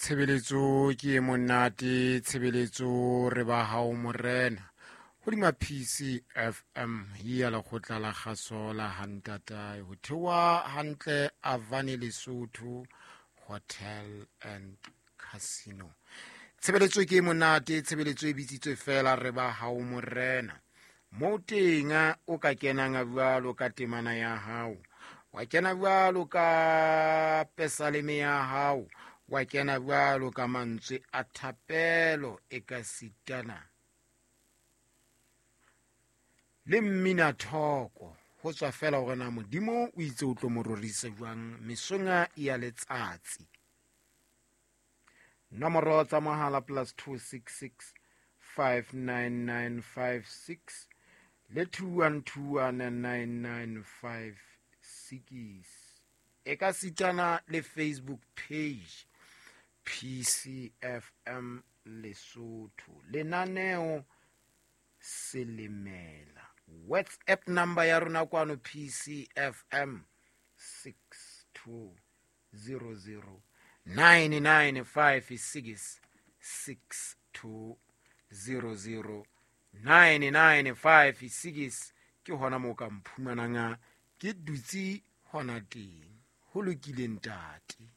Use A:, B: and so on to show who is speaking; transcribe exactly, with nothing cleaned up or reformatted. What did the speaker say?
A: Tshebeletso ke e monate, tshebeletso re ba hao morena. Hodima P C F M ya lekgotla la kgaso la hantatae ho theoha hantle Avani Lesotho Hotel and Casino. Tshebeletso ke e monate, tshebeletso e bitsitswe fela re ba hao morena. Mo teng o ka kenang jwalo ka temana ya hao, wa kena jwalo ka pesaleme ya hao, wa kena jwalo ka mantswe a thapelo e ka sitana le mmina thoko, ho tswa fela hore na Modimo o itse o tlo mo rorisa jwang mesong ya letsatsi. Nomoro tsa mohala plus two six six five nine nine five six le two one two one nine nine five six, e ka sitana le Facebook page P C F M Lesotho, lenaneo Selemela. WhatsApp number ya rona kwano P C F M six two zero zero nine nine five six, six two zero zero nine nine five six. Ke hona moo ka mphumanang ke dutse hona teng. Ho lokile ntate.